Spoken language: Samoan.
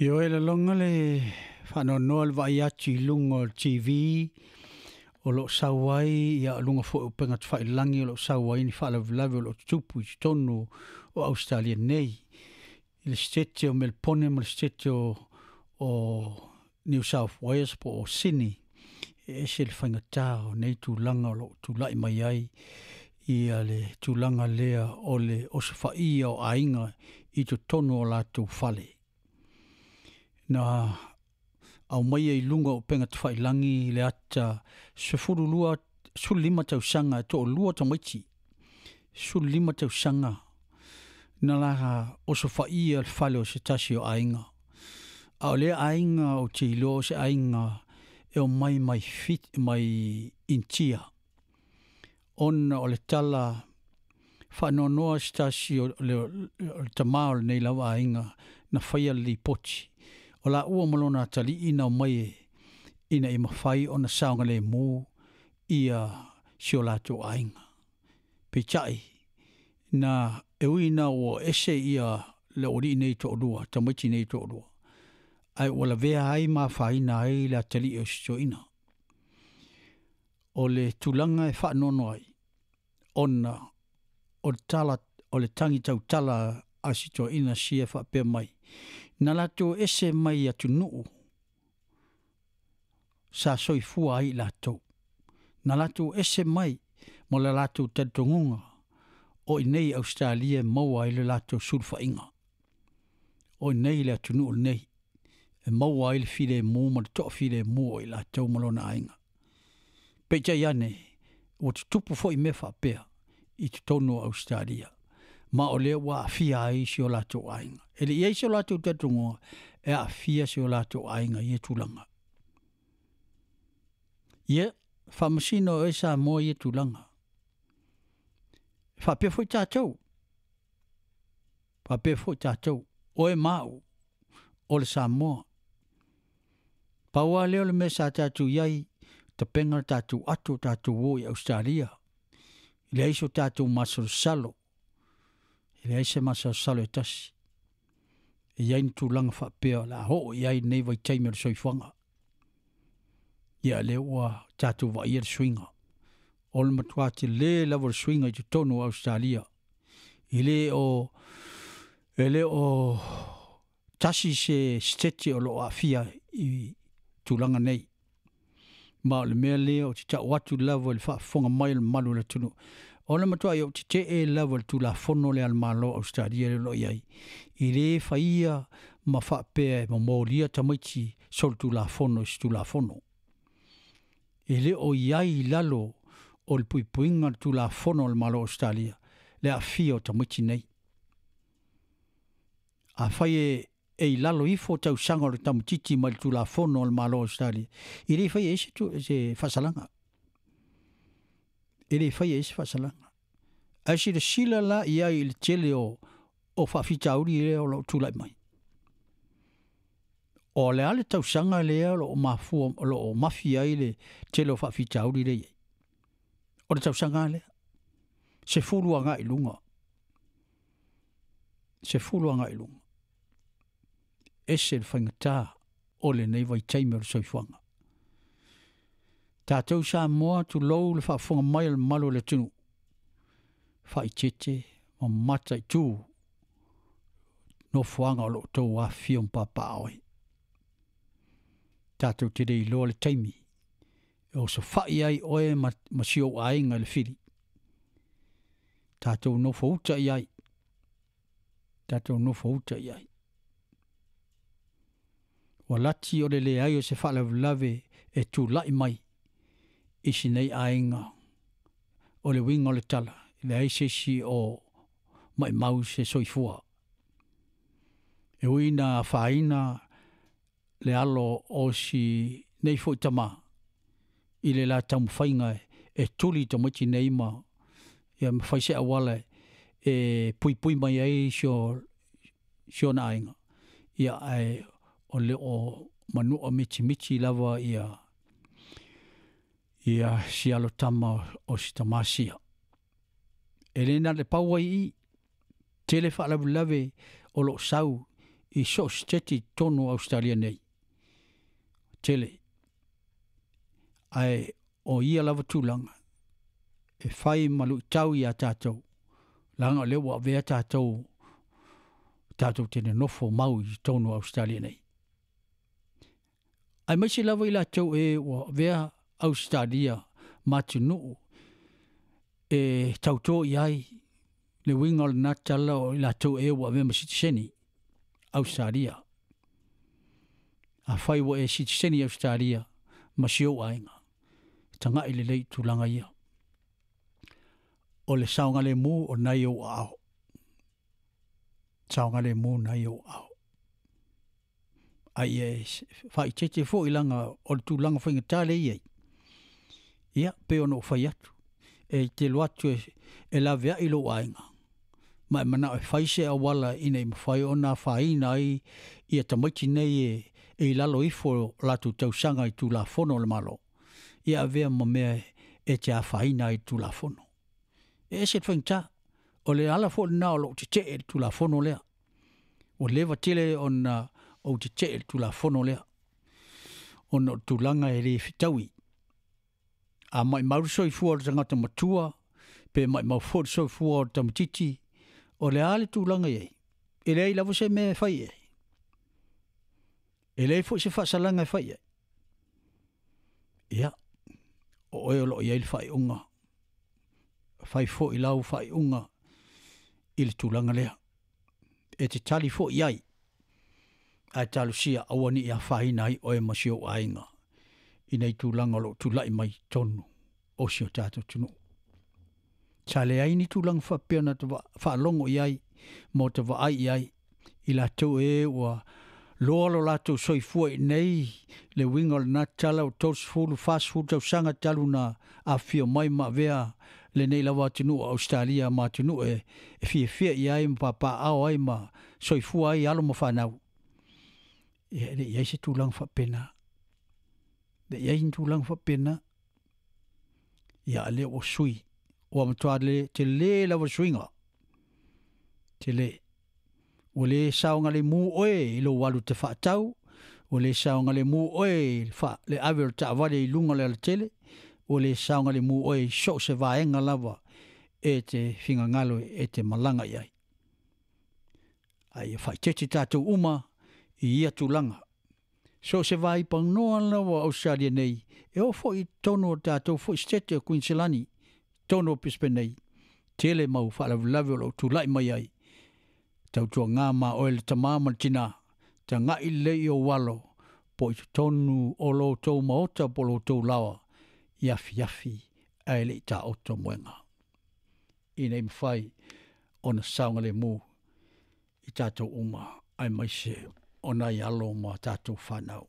Ioe laloga le faanoanoa le vaai atu i luga o le TV o lo o sau ai, ia luga foi o upega tafailagi o lo o sau ai ni faalavelave o lo o tutupu i totonu o Ausetalia nei, i le Setete o Melepone ma le Setete o New South Wales po o Sydney. E ese le faigata o nei tulaga o lo o tulai mai ai ia le tulaga lea o le osofaia o aiga i totonu o latou fale. Na aumaia i luga o upega tafailagi le ata 12, 15 tausaga e toalua tamaiti, 15 tausaga na la osofaia le fale o se tasi o aiga. A o lea aiga ou te iloa o se aiga e omai mai fit mai Initia, ona o le tala faanoanoa se tasi o le tama o lenei lava aiga na faia le lipoti o laua ma lona atalii na omai ina ia mafai ona saogalemu ia si o latou aiga. Peitai na e ui ina ua ese ia le aualii nei toalua, tamaiti nei toalua, ae ua lavea ai ma afaina ai le atalii o si toeaina. O le tulaga e faanoanoa ai, ona o le tala o le tagi tautala a si toeaina sia e faapea mai, na latou ese mai atunuu sa soifua ai i latou, na latou ese mai ma le latou talitonuga o i inei i Ausetalia e maua ai le latou sulufaiga, o i inei i le atunuu lenei e maua ai le filemu ma le toafilemu o i latou ma lona aiga. Peitai ane, ua tutupu foi mea faapea i totonu o Ausetalia, ma o lea ua aafia ai si o latou aiga. E le i i ai so latou talitonuga e aafia si o latou aiga i ia tulaga. Ia, faamasino e oe Samoa ia tulaga. E faapea foi tatou, faapea foi tatou, oe ma au, o le Samoa. Pau lava lea o le mea sa tatou i ai, tapena le tatou ato tatou o i Ausetalia, e leai so tatou masalosalo, e leai se masalosalo e tasi e i ai ni tulaga faapea o le a oo i ai lenei vaitaimi o le soifuaga. Ia lea ua tatou vaaia le suiga, o le matua tele lava o le suiga i totonu o Ausetalia. E le o tasi se setete o lo o aafia i tulaga nei. Ma o le mea lea ou te tau atu lava i le faafofoga mai o le mamalu o le atunuu, o le matuai ou tetee lava i le Tulafono lea a le Malo o Ausetalia lea o lo o i ai, e le faia ma faapea e momolia tamaiti solitulafono i se Tulafono. E le o i ai i lalo o le puipuiga o le Tulafono a le Malo o Ausetalia le aafia o tamaiti nei. Afai e i lalo ifo tausaga o le tamaitiiti mai le Tulafono a le Malo o Ausetalia, e le faia ai se faasalaga. E le faia ai se faasalaga. Ae silasila la i ai i le tele o faafitauli lea o lo o tulai mai. O le a le tausaga lea o lo o mafua, o lo o mafi ai le tele o faafitauli lea i ai. O le tausaga lea, 10 agai i luga. 10 agai i luga. Ese le faigata o lenei vaitaimi o le soifuaga. Tatou Samoa, tulou le faafofoga mai o le mamalu o le atunuu, faaeteete ma mataitu nofoaga o lo o outou afifio ma papaaao ai. Tatou te le iloa le taimi e osofai ai oe ma si ou aiga i le fili. Tatou nofouta i ai. Tatou nofouta i ai. Ua lati o le leai o se faalavelave e tulai mai i si nei aiga. O le uiga o le tala, e leai se isi o maimau se soifua. E ui ina afaina le alo o si nei foi tama i le la taumafaiga e tuli tamaiti nei ma ia ma fai se auala e puipui mai ai si ona aiga. Ia ae o le o manua mitimiti lava ia si alo tama o si tama sia. E le na le pau ai i, tele faalavelave o lo o sau i so o se siteti i totonu o Ausetalia nei. Tele. Ae o ia lava tulaga e fai ma luitau iā tatou, leaga o lea ua avea tatou tatou te nonofo mau i totonu o Ausetalia nei. Aemaise lava i latou e ua avea Ausetalia ma atunuu e tauto i ai le uiga o lena tala o i latou e ua avea ma sitiseni Ausetalia. Afai ua e sitiseni i Ausetalia ma si ou aiga, tagai lelei i tulaga ia. O le saogalemu o lena i ou aao. Saogalemu lena i ou aao. A ia e faaeteete foi leaga o le tulaga faigata lea e i ai, ia, pei ona ou fai atu, e te alu atu e laveai lou aiga, ma e manao e fai se auala ina ia mafai ona afaina ai ia tamaiti nei e i lalo ifo o latou tausaga i Tulafono a le Malo, ia avea ma mea e te afaina ai i le Tulafono. E ese le faigata. O le ala foi lena o lou tetee i le Tulafono lea. Ua leva tele ona ou tetee i le Tulafono lea, ona o le tulaga e le fetaui. A maumau le soifua o le tagata matua, pe maumau foi le soifua o le tamaitiiti, o le a le tulaga e i ai, e leai lava se mea e fai i ai. E leai foi se faasalaga e fai i ai. Ia, o oe o lo o i ai le faaiuga, fai foi lau faaiuga i le tulaga lea. E te tali foi i ai, ae talosia aua ne i afaina ai oe ma si ou aiga i nei tulaga o lo o tulai mai i totonu o si o tatou atunuu. Sa leai ni tulaga faapea na faalogo i ai ma ota vaai i ai i latou e ua loa lo latou soifua i inei, le uiga o lena tala ua 30, 40 tausaga talu ona afifio mai ma avea lenei lava atunuu o Ausetalia ma atunuu e fiafia i ai ma papaaao ai ma soifua ai alo ma fanau. Ia, e le i ai se tulaga faapena. E le i ai ni tulaga faapena. Ia, a lea ua sui. Ua matua le tele lava le suiga. Tele. Ua le saogalemu oe i lou alu te faatau, ua le saogalemu oe i le ave o le taavale i luga o le alatele, ua le saogalemu oe i so o se vaega lava e te finagalo e te malaga i ai. A ia faaeteete tatou uma i ia tulaga. So o se vaipanoa lava o Ausetalia nei, e oo foi i totonu o le tatou foi Setete o Kuiniselani, totonu o Brisbane nei, tele mau faalavelave o lo o tulai mai ai. Tautuaga ma oe le tama ma le tina, tagai lelei i ou alo, po i totonu o lo outou maota po o lo outou laoa i afiafi ae le i taoto moega, ina ia mafai ona saogalemu i tatou uma aemaise o nai alo ma tatou fanau.